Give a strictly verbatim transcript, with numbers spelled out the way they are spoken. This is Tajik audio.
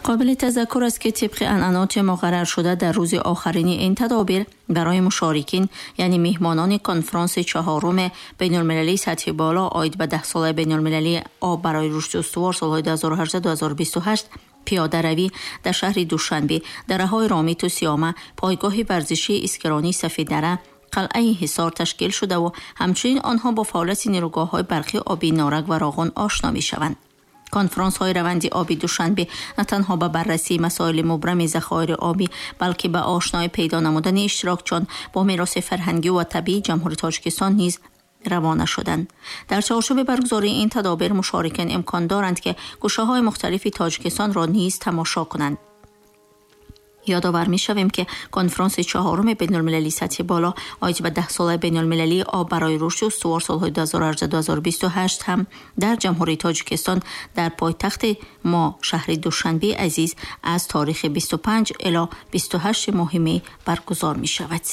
Қобили тазаккур аст, ки тибқи анъаноти муқарраршуда дар рӯзи охирини ин тадобир барои мушорикин, яъне меҳмонони конфронси чаҳоруми байналмилалии сатҳи боло оид ба даҳсолаи байналмилалии об барои рушди устувор солҳои ду ҳазору ҳаждаҳ - ду ҳазору бисту ҳашт пиёдаравӣ дар шаҳри Душанбе, дараҳои Ромиту Сиёма, пойгоҳи варзишии Искиронии Сафеддара, қалъаи Ҳисор ташкил шудаву ҳамчунин онҳо бо фаъолияти нерӯгоҳҳои барқи обии Норак ва Роғун ошно мешаванд. Конфронсҳои раванди оби Душанбе на танҳо ба баррасии масоили мубрами захоири обӣ, балки ба ошноӣ пайдо намудани иштирокчиён бо мероси фарҳангӣ ва табиии Ҷумҳурии Тоҷикистон низ равона шуданд. Дар чорчӯби баргузории ин тадобир мушорикин имкон доранд, ки гӯшаҳои мухталифи Тоҷикистонро низ тамошо кунанд. Ёдовар мешавем, ки конфронси чаҳоруми байналмилалии сатҳи боло оид ба даҳсолаи байналмилалии об барои рушди устувор солҳои ду ҳазору ҳаждаҳ - ду ҳазору бисту ҳашт ҳам дар Ҷумҳурии Тоҷикистон дар пойтахти мо шаҳри Душанбе азиз аз таърихи бисту панҷ ило бисту ҳашт моҳи май баргузор мешавад.